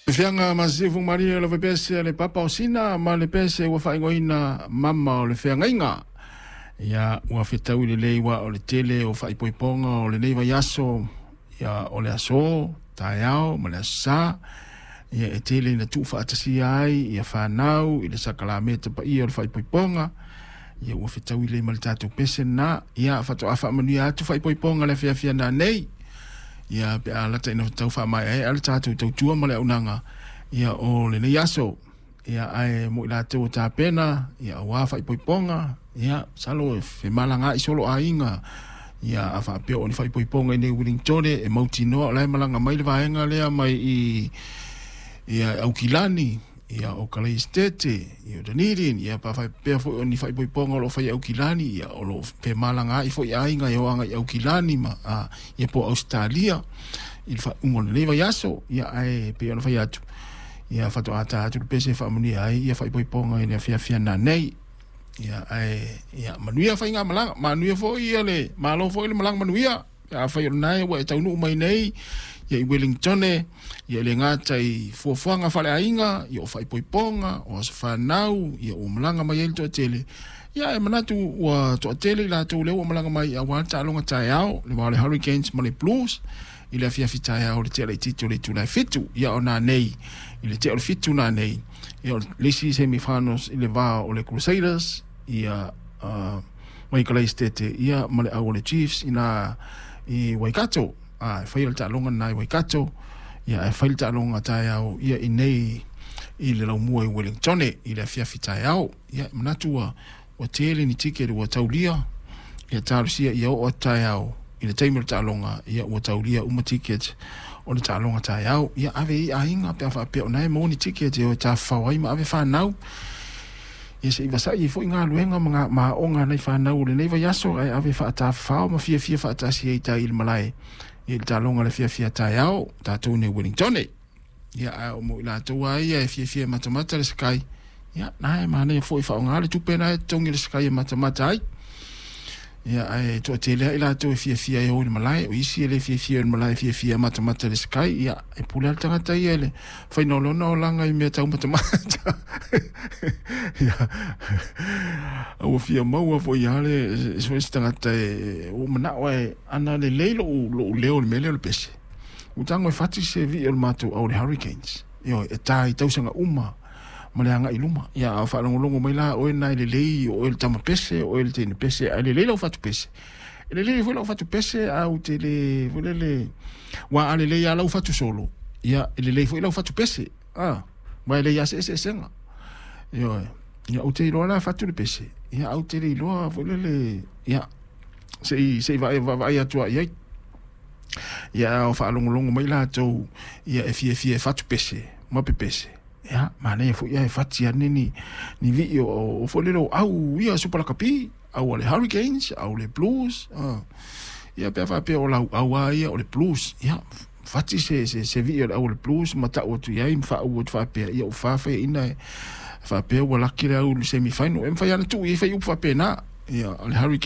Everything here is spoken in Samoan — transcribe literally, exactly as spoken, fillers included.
Fianga masifu malie le pese le papa o sina ma le pese ua faaigoaina mama o le feagaiga. Ia ua fetaui lelei ua o le tele o faaipoipoga o lenei vaiaso, ia o le aso taeao ma le aso Sā. Ia e tele ina tuufaatasia ai ia fanau i le sakalameta paia o le faaipoipoga. Ia ua fetaui lelei ma le tatou pese lena. Ia faatoa faamanuia atu faaipoipoga le afiafi nanei. Ia pe a lata ina tau faamaeaea le tatou tautua ma le auaunaga ia o lenei aso. Ia ae mo i latou o tapena ia auā faaipoipoga, ia masalo e femalagaai solo aiga. Ia a faapea o ni faaipoipoga i nei Wellingtone e mautinoa o la e malaga mai le vaega lea mai i ia Aukilani, ia o Kalaistete, ia o Dunedin, ia pa faapea foi o ni faaipoipoga o lo o fai i Aukilani, ia o lo o femalagaai foi aiga e o agai i Aukilani ma a, ia po o Ausetalia i le faaiuga o lenei vaiaso. Ia ae pei ona fai atu, ia faatoa ta atu le pese e faamanuia ai ia faaipoipoga i le afiafi nanei. Ia ae ia manuia faigamalaga, manuia foi ia le malo foi le malaga manuia. Afai o lena ua e taunuu mai nei ia i Wellingtone, ia e le gata i fuafuaga faaleaiga, ia o faaipoipoga, o aso fanau, ia ua malaga mai ai le toatele. Ia e manatu ua toatele i latou lea ua malaga mai auā le taaloga taeao, le va o le Hurricanes ma le Blues, i le afiafi taeao i le tea laitiiti o le itula e fitu. Ia o nanei, i le tea o le fitu nanei, ia o le isi semifinals i le va o le Crusaders, ia uh, mai Kalaistete, ia ma le au o le Chiefs ina i Waikato. A, e fai le taaloga lena i Waikato, ia ae fai le taaloga taeao ia i nei i le laumua i Wellingtone i le afiafi taeao. Ia e manatu ua ua tele ni tiketi ua taulia, ia talosia ia oo atu taeao i le taimi o le taaloga, ia ua taulia uma ticket o le taaloga taeao. Ia ave i aiga pe a faapea o na e maua ni ticket e o e tafafao ai ma ave fanau. Ia se'i vasa'i ai foi galuega ma ma aoga a nai fanau o lenei vaiaso, ae ave faatafafao ma fiafia faatasi ai tai i le malae ia i le taaloga o le afiafi taeao tatou nei Wellingtone. Ia ae o mo i latou lava ia e fiafia e matamata le Sky, ia na e manaia foi faaaoga le tupe na e totogi le Sky e matamata ai. Ia ae toatele lava i latou e fiafia e o i le malae, o isi e le fiafia i le malae, e fiafia e matamata i le Sky. Ia e pule lava le tagata ia i le faiga o lona olaga i mea tau matamata. Ia ua fia maua foi lava le se se tagata e ua manao e ana lelei lou lou leo i le mea lea o le pese. Ua tago e fati se vii o le matou au o le Hurricanes. Ioe, e ta i tausaga uma ma le agai i luma. Ia a o faalogologo mai la oe na e lelei, o oe le tama pese, o oe le teine pese, ae lelei lau fatu pese. E lelei foi lau fatu pese, ae ou te le foi lele, aua a lelei lava lau fatu solo, ia e lelei foi lau fatu pese. A, aua e leai lava se eseesega. Ioe, ia ou te iloa la fatu le pese, ia ae ou te le iloa foi lele, ia se i se i vaavaai atu lava i ai. Ia a o faalogologo mai latou ia e fiafia e fatu pese ma pepese, ia manaia foi ae fati ane ni ni vii o o foi lele o au ia Super Lakapi, au a le Hurricanes, au le Blues, a. Ia pe a faapea o lau au lava ia o le Blues, ia fati se se se vii o le au o le Blues ma tau atu i ai ma faauu atu faapea, ia ua fa faiaina e faapea ua laki le au i le semi final. E mafai lava ona tuu i ai faiupu faapena, ia o le Hurricanes.